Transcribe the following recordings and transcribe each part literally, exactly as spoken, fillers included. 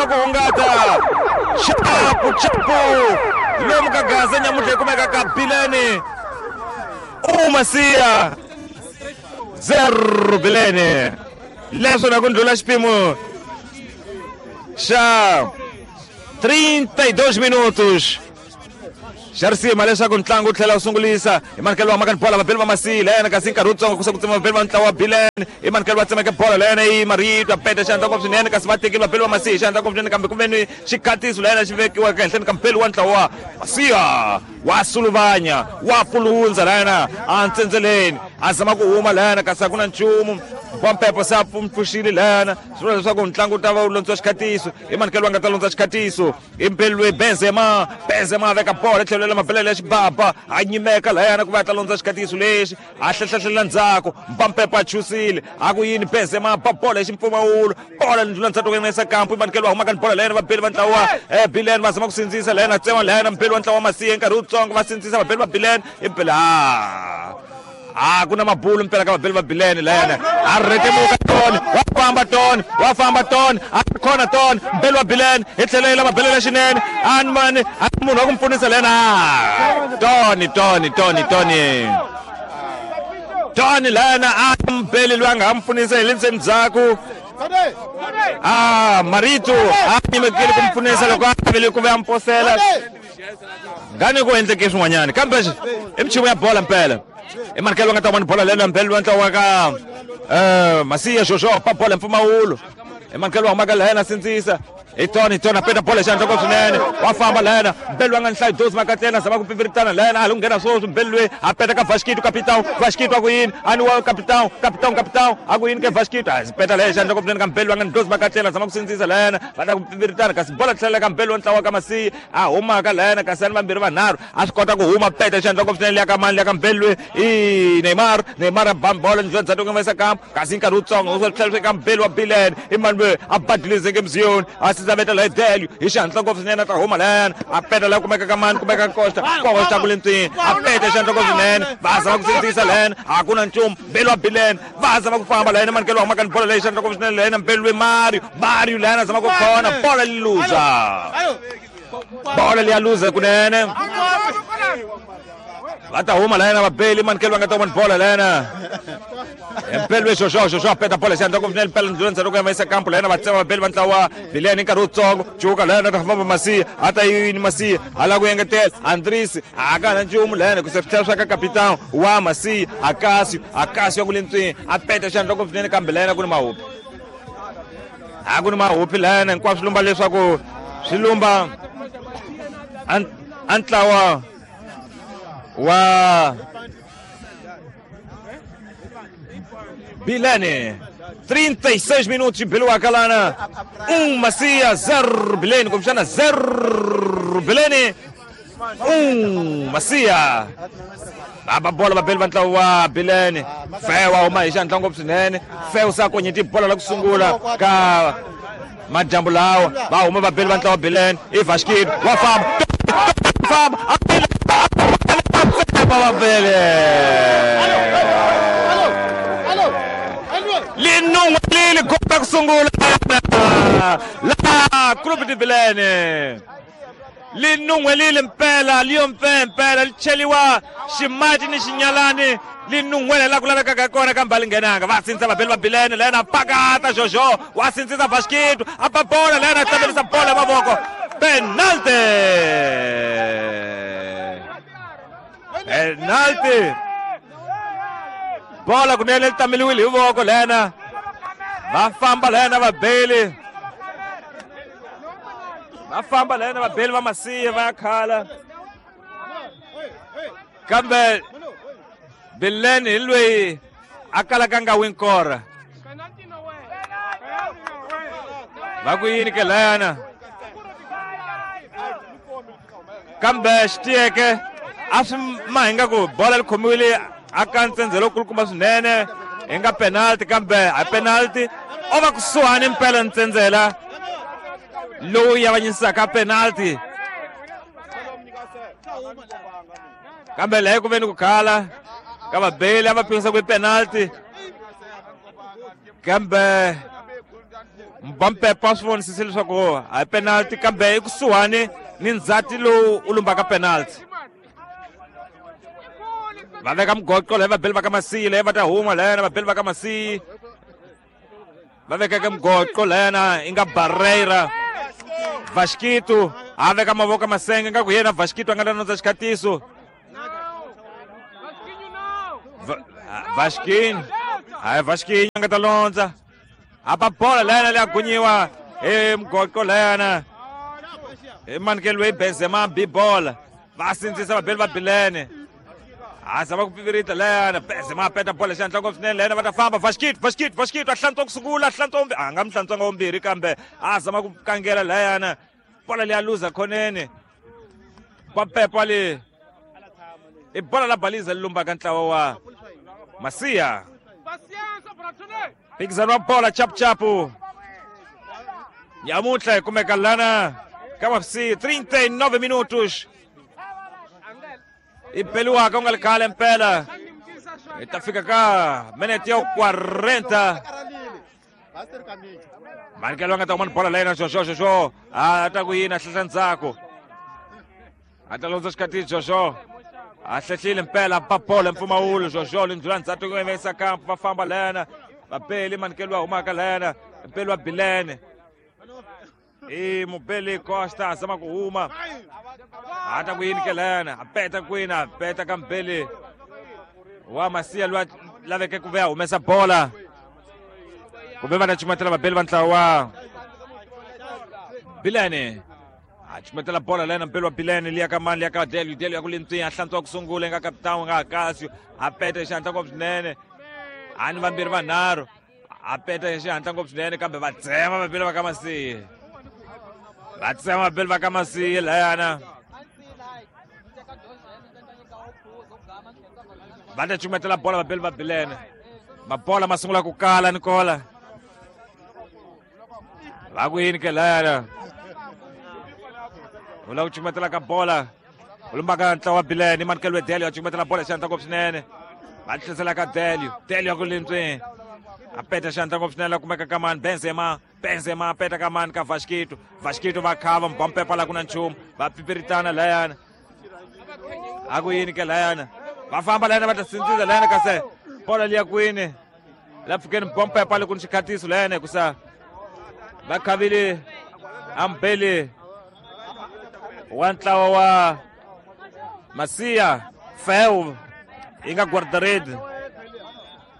zama ku hungata chapu chapu lomu ka Gaza nyamutlha yi kumeka ka Bilene u Masiya zero Bilene leswo na ku ndlula xipimo xa trinta e dois minutos xa risima leswaku ntlangu wu tlhela wu sungulisa hi manikelo wa makani bola vabeli va Masiya lena kasi nkarhi wutsongo ku se ku tsema vabeli va ntlawa wa Bilene i manikelo va tsemeke bola lena i Marito a peta xandla ngopfu swinene kasi va tekile vabeli va Masiya xandla ngopfu swinene kambe ku ve ni xikhatiso lena xi vekiwaka ehenhleni ka mbeli wa ntlawa wa Masiya wa suluvanya wa pulundza lena a ntsendzeleni a zama ku huma lena kasi a ku na nchumu Bompepo se a pfuxile lena swi vula leswaku ntlangu wu ta va wu londziwa xikhatiso i manikelo va nga ta londza xikhatiso i mbeli loyi Benzema Benzema a veka bola etlhelo la mabelele ya xibaba a nyimeka layana ku va a ta londza xikhatiso lexi a hlehla ndzhaku Mbampepo a chusile a ku yini Benzema ba bola hi ximpfumawulo bola ndlula ndzhaku ku yisa kampu i manikelo va humaka ni bola layana vabeli va ntlawa eh Bilene va zama ku sindzisa layana tsema layana mbeli wa ntlawa wa Masiya nkarhi wutsongo va sindzisa vabeli va Bilene i mbeli a a ku na mabulu mpela ka vabeli va Bilene layana a rhetemuka toni wa famba toni wa famba toni a khona toni mbeli wa Bilene hi tlhelo yi lava belela xinene a ni mani a munhu wa ku mi pfunisa layana toni toni toni toni toni layana a mbeli loyi a nga ha mi pfunisa hi le ndzeni ndzhaku a Marito a nyimekile ku mi pfunisa loko a vele ku ve a mi posela ngani ku endleke swin'wanyana kambe i michumu ya bola mpela i manikelo va nga ta vona bola lena mbeli wa ntlawa ka eh Masiya Jojo pa bola mpfumawulo i manikelo wa humaka lena sindzisa hi toni toni a peta bola xandla ngopfu swinene wa famba lena mbeli wa nga ni hlayi dozi makatlena zama ku pimpiritana lena a li ku nghena swoswi mbeli loyi a peta ka Vasquito capitão Vasquito a ku yini a ni wa capitão capitão capitão a ku yini ke Vasquito a peta leyo xandla ngopfu swinene ka mbeli wa nga ni dozi makatlena zama ku sindzisa lena va ta ku pimpiritana kasi bola tlhela ka mbeli wa ntlawa ka Masiya a humaka lena kasi a ni vambirhi vanharhu a swi kota ku huma peta xandla ngopfu swinene liya ka mani liya ka mbeli loyi i Neymar Neymar a ba bola ndlela ndzhaku ku yisa kampu kasi nkarhi wutsongo u tlhela ka mbeli wa Bilene i mani loyi a badilizeke mziyoni a sizaveta la Delio hi xihatla ngopfu swinene a ta huma layana a peta laha kumeka ka mani kumeka Costa Costa ku le ntswini a peta xihatla ngopfu swinene va zama ku sindzisa layana a ku na nchumu mbeli wa Bilene va zama ku famba layana manikelo wa humaka ni bola leyi xihatla ngopfu swinene layana mbeli loyi Mario Mario layana a zama ku khona bola li luza bola liya luza kunene va ta huma layana vabeli manikelo va nga ta vona bola layana mbeli we Jojo Jojo a peta bola xandla ngopfu swinene mpela ndlula ndzhaku ku ya yisa kampu layana va tsema vabeli va ntlawa Bilene nkarhi wutsongo cuka layana ta famba Masiya a ta yini Masiya a lava ku engetela Andris a ka na nchumu layana ku se swi tlhela swa ka capitão wa Masiya Akasio Akasio ya ku le ntswini a peta xandla ngopfu swinene kambe layana ku ni mahupi a ku ni mahupi layana hinkwaswo swi lumba leswaku swi lumba a ntlawa wa Bilene trinta e seis minutos Biluaka lana um Masiya zero Bilene kumbexana zero Bilene um Masiya va bola vabeli va ntlawa wa Bilene Fewa huma hi xandla ngopfu swinene Fewa sa konyeti bola la ku sungula ka madyambu lawa va huma vabeli va ntlawa wa Bilene i Vasquito wa famba famba vabele linun'welile kota ku sungula la Clube de Bilene linun'welile mpela liyo mpe mpela li cheliwa ximati ni xinyalani linun'wele la ku lavekaka kona kambe a li nghenanga va sindzisa vabeli va Bilene lena pakata Jojo wa sindzisa Vasquito a ba bola lena a tlamelisa bola hi mavoko penalty penalty bola kunene li tameliwile hi voko lena va famba lena vabeli va famba lena vabeli va Masiya va ya khala kambe Bilene hi loyi a kalaka nga win kora va ku yini ke layana kambe xi tiyeke a swi ma hi nga ku bola li khomiwile a ka ntsendzelo kulukumba swinene hi nga penalty kambe a penalty o va kusuhani mpela ntsendzela lowu yavanyisaka penalty kambe leyi ku ve ni ku khala ka vabeli a va pimisa ku i penalty kambe Mbampepa swi vonisise leswaku a hi penalty kambe ekusuhani ni ndzhati lowu u lumbaka penalty. Va veka mugoqo leyi vabeli va ka Masiyi leyi va ta huma lena vabeli va ka Masiyi va vekeke mugoqo lena i nga Barreira. Vasquito a veka mavoko masenge nga ku yena Vasquito a nga ta nondza xikhatiso. Vasquinho hayi Vasquinho a nga ta londza a ba bola lena leyi a gunyiwa hi mugoqo lena hi manikelo loyi Benzema bi bola va sindzisa vabeli va Bilene a zama ku pivirita lena Benzema a peta bola xihatla ngopfu swinene lena va ta famba Vasquito Vasquito Vasquito a hlantswa ku sungula a hlantswa vumbirhi a nga mi hlantswanga vumbirhi kambe a zama ku kangela leyana bola leyi a luza khoneni Pampepa le i bola la baliza li lumbaka ntlawa wa Masiya. Phikizano wa bola chapuchapu nyamuntlha hi kumeka lana ka Mafsi trinta e nove minutos i beliwaka u nga li khale mpela hi ta fika ka minete ya quarenta. Manikelo a nga ta kuma ni bola leyina Jojo Jojo a ta ku yini a hlehla ndzhaku a ta londza xikhati Jojo a hlehlile mpela ba bola mpfumawulo Jojo lindlula ndzhaku ku yimisa kampu va famba lena vabeli manikelo wa humaka lena mpeli wa Bilene i mubeli Costa a zama ku huma a ta ku yini ke lena a peta kwini a peta ka mbeli wa Masiya loyi a laveke ku ve a humesa bola kumbe va ta cumatela vabeli va ntlawa wa Bilene a cumatela bola lena mbeli wa Bilene liya ka mani liya ka Delio Delio ya ku lintswinya a hlantswa ku sungula nga kapitani nga Akasio a peta hi xihatla ngopfu swinene a ni vambirhi vanharhu a peta hi xihatla ngopfu swinene kambe va tsema vabeli va ka Masiya va tsema vabeli va ka Masiya layana va ta cumatela bola vabeli va Bilene mabola ma sungula ku kala Nicola va ku yini ke layana u lava ku cumatela ka bola u lumbaka ntlawa wa Bilene manikelo Delio a cumatela bola xihatla ngopfu swinene va tlherisela ka Delio Delio ya ku lintswini a peta xihatla ngopfu swinene la kumeka ka mani Benzema Benzema a peta ka mani ka Vasquito Vasquito va khava Mbampepa la ku na nchumu va pipiritana layana a ku yini ke layana va famba layana va ta sindzisa layana kasi bola liya kwini la pfukeni Mbampepa le ku ni xikhatiso layana hikusa va khavile ambeli wa ntlawa wa Masiya Feu yi nga guardaredi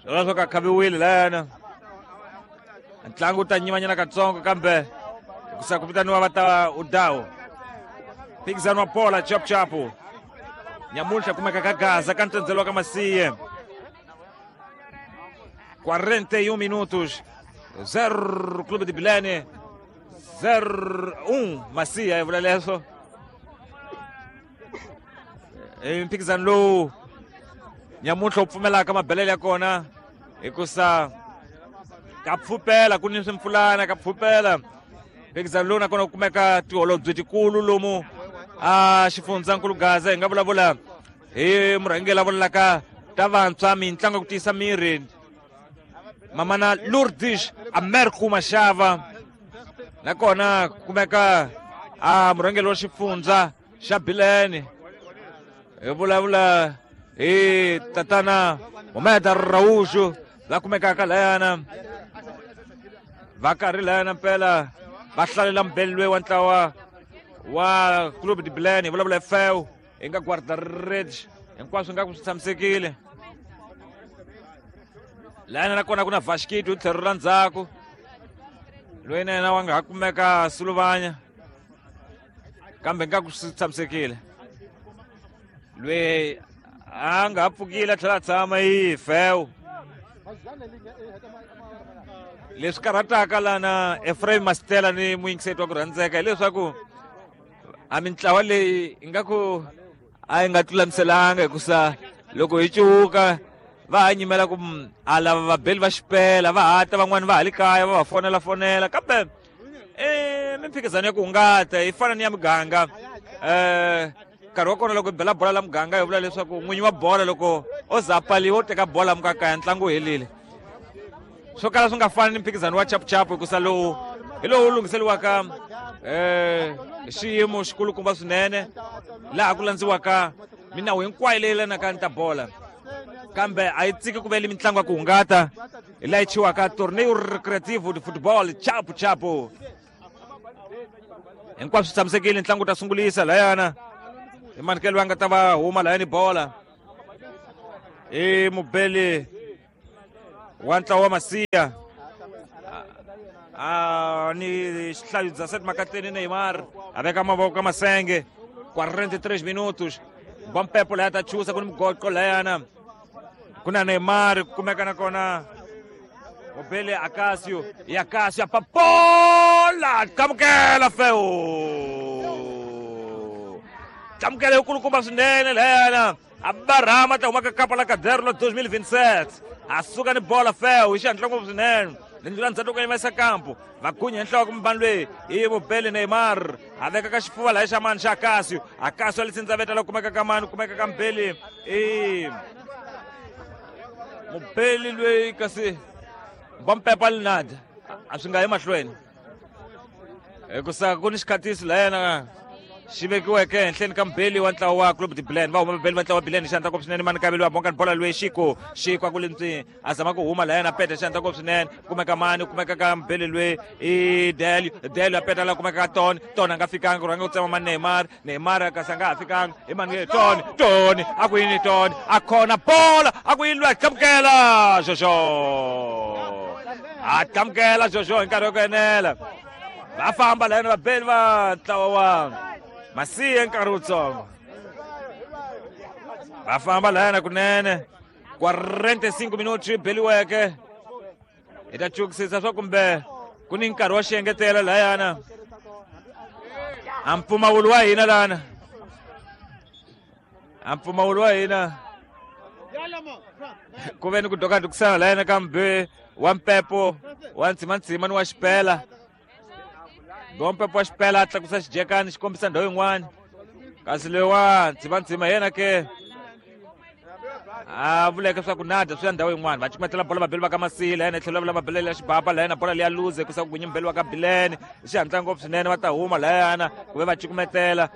swona swo ka khaviwile layana ntlangu wu ta nyimanyana katsongo kambe hikusa ku vitaniwa va ta udawu phikizano wa bola chapuchapu nyamuntlha kumeka ka Gaza ka ntsendzelo wa ka Masiye quarenta e um minutos zero Clube de Bilene zero um Masiya hi vula leswo i mphikizano lowu nyamuntlha wu pfumelaka mabelele ya kona hikusa ka pfupela ku ni swimpfulana ka pfupela mphikizano lowu nakona ku kumeka tiholobye tikulu lomu a xifundzankulu Gaza hi nga vulavula hi murhangeri la vulaka ta vantshwa mitlangu ya ku tiyisa miri mamana Lourdes Americo Mashava nakona ku kumeka a murhangeri wa xifundza xa Bilene hi vulavula hi tatana Momeda Raújo la kumekaka layana va karhi layana mpela va hlalela mbeli loyi wa ntlawa wa Clube de Bilene hi vulavula hi Feu hi nga guarda-redes hinkwaswo nga ku swi tshamisekile layana nakona ku na Vasquito hi tlhelo ra ndzhaku loyi na yena wa nga ha kumeka Suluvanya kambe nga ku swi tshamisekile loyi a nga ha pfukile a tlhela a tshama hi Feu leswi karhataka lana Ephraim Mastela ni muyingiseti wa ku rhandzeka hileswaku a mintlawa leyi ingaku a yi nga tlulamiselanga hikusa loko hi cuka va ha nyimela ku a lava vabeli va xipela va hata van'wani va ha le kaya va va fonela fonela kambe i mimphikizano ya ku hungata yi fana ni ya muganga um nkarhi wa kona loko hi bela bola la muganga hi vula leswaku n'winyi wa bola loko o za a pfaliwa u teka bola mukakaya ntlangu wu helile swo kala swi nga fani ni mphikizano wa chapuchapu hikusa lowu Hi lowu lunghiseriwaka eh xiyimo xikulukumba swinene laha ku landziwaka minawu hinkwayo leyi yelanaka ni ta bola. Kambe a yi tsiki ku vele mitlangu ya ku hungata hi laha yi chiwaka Torneio Recreativo de Futebol Chapu Chapu. Hinkwaswo swi tshamisekile, ntlangu wu ta sungulisa layana. I manikelo va nga ta va huma layani bola. I mubeli wa ntlawa wa Masiya. Ah, ni xihlayo dezessete makateni Neymar a veka mavoko ka masenge. quarenta e três minutos. Bompepo laya ta chusa ku ni mugoqo layana. Ku na Neymar ku kumeka nakona mubeli Acasio. I Acasio a papola kamukela feu. Kamukela hi kulukumba swinene layana. A barama ta huma ka kapa la Caderno dois mil e vinte e sete. A suka ni bola feu hi xihatla ngopfu swinene. Lindzu la ndzhaku ka yimesa kampo. Va gunya nhloko mubani loyi i mubeli Neymar. A veka ka xifuva laha xa mani xa Acasio. Acasio a li tsindzaveta la kumeka ka mani, kumeka ka mubeli i mubeli loyi kasi Bompepa Linada. A swi nga yi mahlweni. Hikusa ku ni xikhatiso layena xi vekiweke ehenhleni ka mubeli wa ntlawa wa Clube de Bilene. Va huma mubeli wa ntlawa wa Bilene xandla ngopfu swinene mani kaveli wa bonga bola loyi Xiko. Xiko a ku lintswi a zama ku huma layena peta xandla ngopfu swinene. Kumeka mani, kumeka ka mubeli loyi i Delio. Delio a peta la kumeka ka Tony. Tony a nga fikanga ku rhanga ku tsema mani Neymar. Neymar kasi a nga ha fikanga. I mani Tony. Tony a ku yini Tony. A khona bola a ku yini loyi a tlamukela Jojo. A tlamukela Jojo hi nkarhi wa ku enela. Va famba layena vabeli va ntlawa wa Masiya nkarhi wutsongo. Va famba layana kunene. quarenta e cinco minutos yi beliweke. Hi ta chukisisa swa kumbe ku ni nkarhi wa xiengetelo layana. A mpfumawulo wa hina lana. A mpfumawulo wa hina. Ku ve ni ku dokadukisana layana kambe wa Mpepo wa Ntsimantsima ni wa Xipela. Bompepo wa Xipela a tlakusa xijekani xi kombisa ndhawu yin'wana. Kasi loyi wa Ntsimantsima yena ke a vuleke swa ku nada swi ya ndhawu yin'wana. Va cukumetela bola vabeli va ka Masila yena tlhelo va vabeli ya xibaba layena bola leya luze ku sa ku gunyi mubeli wa ka Bilene. Xihatla ngopfu swinene va ta huma layana ku ve va cukumetela.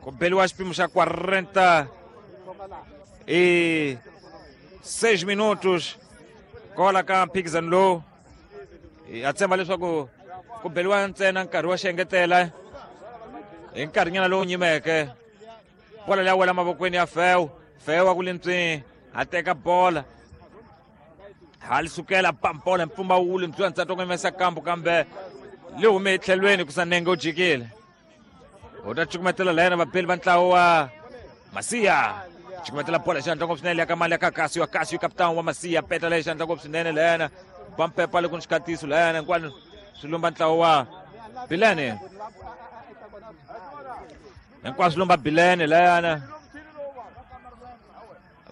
Ku beliwa xipimo xa quarenta e seis minutos kola ka mphikizano lowu. A tshemba leswaku ku beliwa ntsena nkarhi wa xiengetela hi nkarhinyana lowu nyimeke. Bola leya wela mavokweni ya Feu. Feu a ku lintswi a teka bola. Ha li sukela pampola mpfumawulo ntswi ntsatwa ku yimesa kambu kambe li hume etlhelweni ku sa nenge u jikile. U ta cukumetela layena vabeli va ntlawa wa Masiya. Cukumetela bola xandla ngopfu swinene ya ka mali ya ka Acasio. Acasio kapitani wa Masiya peta leyi xandla ngopfu swinene layena. Bompepa le ku ni xikhatiso layana hinkwano swi lumba ntlawa wa Bilene. Hinkwaswo swi lumba Bilene layana.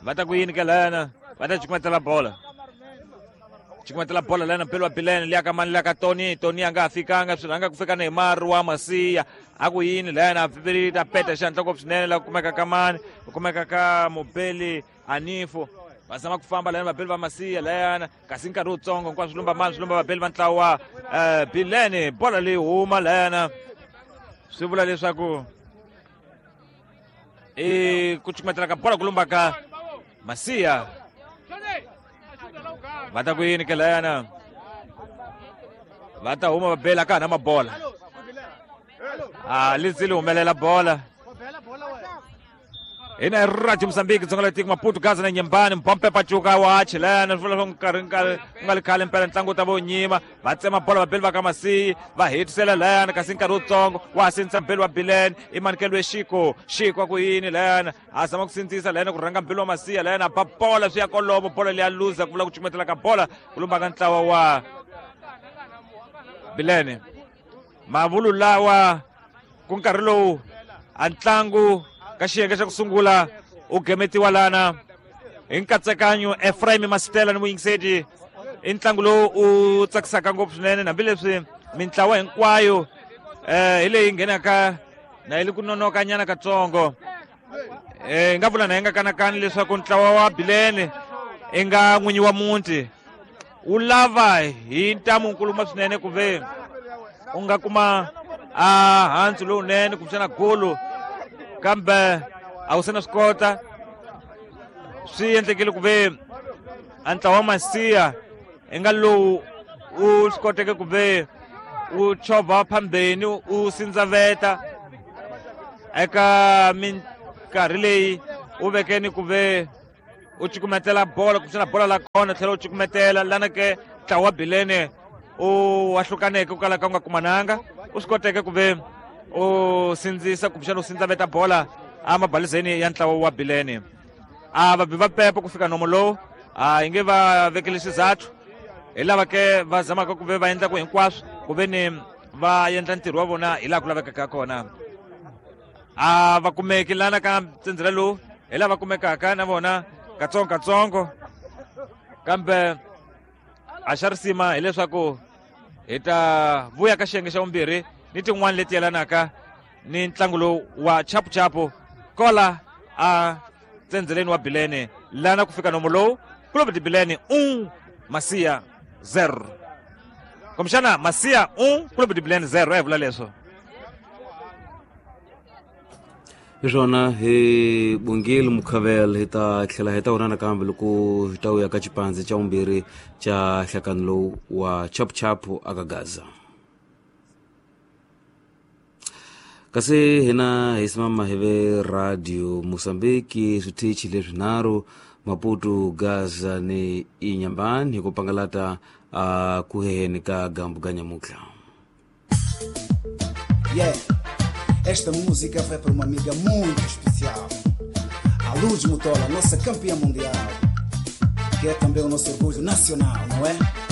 Va ta ku yini ke layana? Va ta cukumetela bola. Cukumetela bola layana mpelo wa Bilene liya ka mani liya ka Tony. Tony a nga ha fikanga swi rhanga ku fika Neymar wa Masiya. A ku yini layana ta peta xandla ngopfu swinene la kumeka ka mani, ku kumeka ka mubeli Anifo. Va zama ku famba layana vabeli va Masiya layana kasi nkarhi wutsongo hinkwaswo swi lumba mani swi lumba vabeli va ntlawa wa Bilene. Bola leyi huma layana swi vula leswaku i ku cukumetela ka bola ku lumba ka Masiya. Va ta ku yini ke layana? Va ta huma vabeli a ka ha na mabola. A li tsili humelela bola. Hina Radio Mozambique dzonga la tiko Maputo Gaza na Nyembani Mpompe Pachuca wa chilena swi vula swa nkarhi nkarhi ku nga li khale mpela ntlangu wu ta va wu nyima. Va tsema bola vabeli va ka Masiyi va hetisela layana kasi nkarhi wutsongo wa ha sindzisa mbeli wa Bilene i manikelo Xiko. Xiko a ku yini layana a zama ku sindzisa layana ku rhanga mbeli wa Masiya layana ba bola swi ya kolomo bola leya luza ku vula ku cukumetela ka bola ku lumba ka ntlawa wa Bilene. Mavulu lawa ku nkarhi lowu a ntlangu ka xiyenge xa ku sungula u gemetiwa lana hi nkatsakanyo Ephraim Masitela ni muyingiseti. I ntlangu lowu u tsakisaka ngopfu swinene hambileswi mintlawa hinkwayo eh hi leyi nghenaka na yi li ku nonokanyana katsongo. Eh nga vula na yi nga kanakani leswaku ntlawa wa Bilene i nga n'winyi wa muti. wu lava hi ntamu nkuluma swinene ku ve u nga kuma a handzu lowunene kumbexana golo kambe a wu se na swi kota. Swi endlekile ku ve a ntlawa wa Masiya i nga lowu u swi koteke ku ve u chovha phambeni u sindzaveta eka minkarhi leyi u vekeni ku ve u cukumetela bolo kumbexana bola la kona tlhela u cukumetela lana ke ntlawa wa Bilene u wahlukaneke ku kala ka u nga kumananga u swi koteke ku ve u sindzisa kumbexana u sindzaveta bola emabalizeni ya ntlawa wa Bilene. A va bi va pepa ku fika nomo lowu a hi nge va vekele xizathu hi lava ke va zamaka ku ve va endla ku hinkwaswo ku ve ni va endla ntirho wa vona hi laha ku lavekaka kona. A va kumeki lana ka ntsendzela lowu hi lava kumekaka na vona katsongo katsongo kambe a xa risima hileswaku hi ta vuya ka xiyenge xa vumbirhi ni tin'wani leti yelanaka ni ntlangu lowu wa chapuchapu kola a tsendzeleni wa Bilene lana ku fika nomo lowu Clube de Bilene um Masiya zero kumbexana Masiya um Clube de Bilene zero a hi vula leswo. Hi swona hi bongile Mukhavel hi ta tlhela hi ta vona nakambe loko hi ta vuya ka xipandzi xa vumbirhi xa nhlakano lowu wa chapuchapu aka Gaza. Kasi hina hi simama hi ve Radio Mozambique switichi leswinharhu Maputo, Gaza ni Inhambane hi ku pangalata a ku heheni ka gambu ga nyamutlha. Yeah. Esta música vai para uma amiga muito especial, a Luz Mutola, nossa campeã mundial, que é também o nosso orgulho nacional, não é?